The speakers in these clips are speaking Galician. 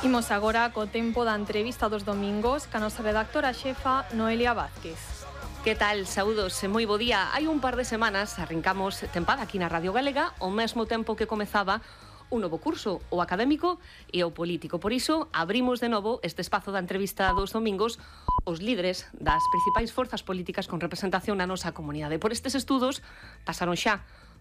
Imos agora co tempo da entrevista dos domingos ca nosa redactora xefa Noelia Vázquez. Que tal? Saúdos e moi bo día. Hai un par de semanas arrancamos tempada aquí na Radio Galega ao mesmo tempo que comezaba un novo curso, o académico e o político. Por iso, abrimos de novo este espazo da entrevista dos domingos os líderes das principais forzas políticas con representación na nosa comunidade. Por estes estudos pasaron xa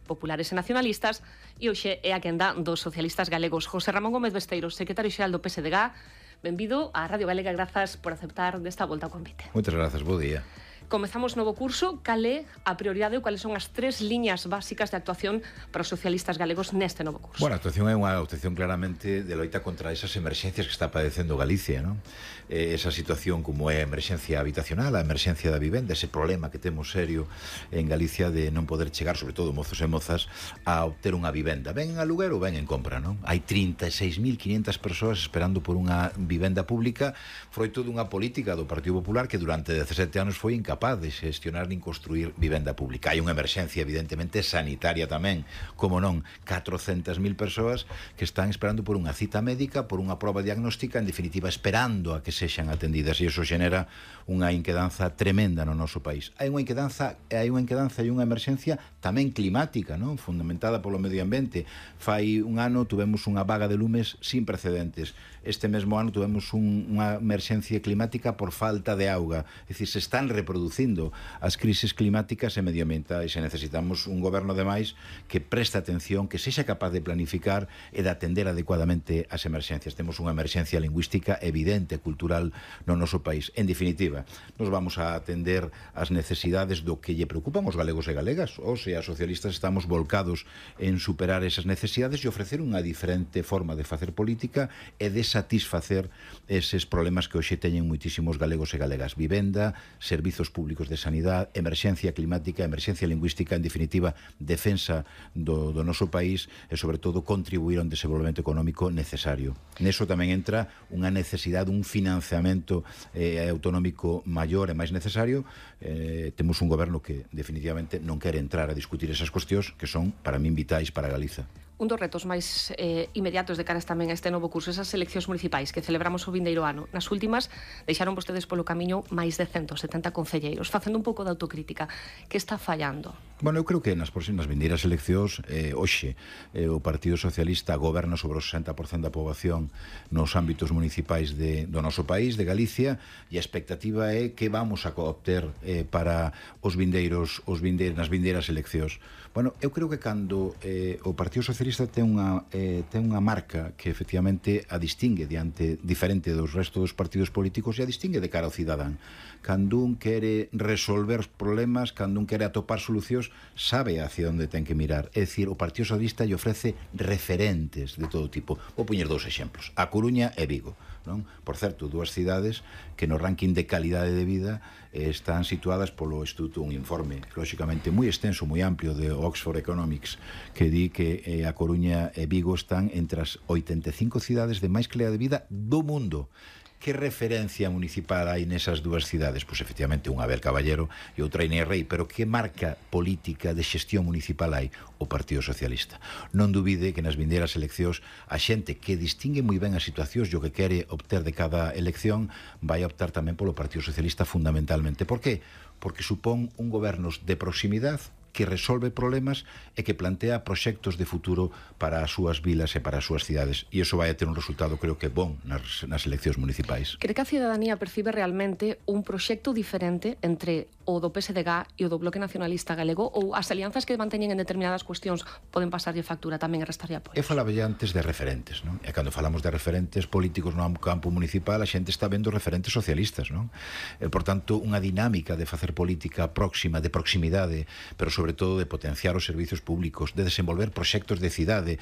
populares e nacionalistas e hoxe é a quenda dos socialistas galegos. José Ramón Gómez Besteiro, secretario xeral do PSDG, benvido á Radio Galega, grazas por aceptar desta volta ao convite. Moitas grazas, bo día. Comezamos novo curso. Cal é a prioridade ou cales son as tres liñas básicas de actuación para os socialistas galegos neste novo curso? Bueno, a actuación é unha actuación claramente de loita contra esas emerxencias que está padecendo Galicia, non? Esa situación como é a emerxencia habitacional, a emerxencia da vivenda, ese problema que temos serio en Galicia de non poder chegar, sobre todo mozos e mozas, a obter unha vivenda. Ben en aluguer ou ben en compra, non? Hai 36.500 persoas esperando por unha vivenda pública, froito dunha política do Partido Popular que durante 17 anos foi incapaz de xestionar nin construir vivenda pública. Hai unha emerxencia evidentemente sanitaria tamén, como non, 400.000 persoas que están esperando por unha cita médica, por unha proba diagnóstica, en definitiva esperando a que sexan atendidas, e iso xenera unha inquedanza tremenda no noso país. Hai unha inquedanza e unha emerxencia tamén climática, non? Fundamentada polo medio ambiente. Fai un ano tuvemos unha vaga de lumes sin precedentes. Este mesmo ano tuvemos unha emerxencia climática por falta de auga. É dicir, se están reproducindo as crises climáticas e medioambientais e necesitamos un goberno demais que preste atención, que sexa capaz de planificar e de atender adecuadamente as emerxencias. Temos unha emerxencia lingüística evidente, cultural no noso país. En definitiva, nos vamos a atender as necesidades do que lle preocupan os galegos e galegas. Os e as socialistas estamos volcados en superar esas necesidades e ofrecer unha diferente forma de facer política e de satisfacer eses problemas que hoxe teñen moitísimos galegos e galegas. Vivenda, servizos públicos de sanidade, emerxencia climática, emerxencia lingüística, en definitiva, defensa do noso país e, sobre todo, contribuir a un desenvolvemento económico necesario. Neso tamén entra unha necesidade, un financiamento autonómico maior e máis necesario. Temos un goberno que, definitivamente, non quere entrar a discutir esas cuestións que son, para min, vitais para Galiza. Un dos retos máis inmediatos de caras tamén a este novo curso, esas eleccións municipais que celebramos o vindeiro ano. Nas últimas, deixaron vostedes polo camiño máis de 170 concelleiros, facendo un pouco de autocrítica. Que está fallando? Bueno, eu creo que nas próximas vindeiras eleccións, hoxe, o Partido Socialista goberna sobre o 60% da poboación nos ámbitos municipais do noso país, de Galicia, e a expectativa é que vamos a obter para nas vindeiras eleccións. Bueno, eu creo que cando o Partido Socialista ten unha marca que efectivamente a distingue diferente dos restos dos partidos políticos e a distingue de cara ao cidadán. Cando un quere resolver problemas, cando un quere atopar solucións, sabe hacia onde ten que mirar. É dicir, o Partido Socialista lle ofrece referentes de todo tipo. Vou poñer dous exemplos: A Coruña e Vigo, non? Por certo, dúas cidades que no ranking de calidade de vida están situadas polo Instituto, un informe lógicamente moi extenso, moi amplio, de Oxford Economics, que di que A Coruña e Vigo están entre as 85 cidades de máis calidade de vida do mundo. Que referencia municipal hai nesas dúas cidades? Pois efectivamente unha Abel Caballero e outra Inés Rei, pero que marca política de xestión municipal hai? O Partido Socialista. Non dubide que nas vindeiras eleccións a xente que distingue moi ben as situacións e o que quere obter de cada elección vai optar tamén polo Partido Socialista fundamentalmente. Por qué? Porque supón un goberno de proximidade que resolve problemas e que plantea proxectos de futuro para as súas vilas e para as súas cidades. E iso vai a ter un resultado, creo que bon, nas eleccións municipais. Cree que a cidadanía percibe realmente un proxecto diferente entre o do PSDG e o do Bloque Nacionalista Galego, ou as alianzas que manteñen en determinadas cuestións poden pasarlle factura tamén e restarlle apoio? Eu falaba ya antes de referentes, non? E cando falamos de referentes políticos no campo municipal, a xente está vendo referentes socialistas, non? Por tanto, unha dinámica de facer política próxima, de proximidade, pero sobre todo de potenciar os servizos públicos, de desenvolver proxectos de cidade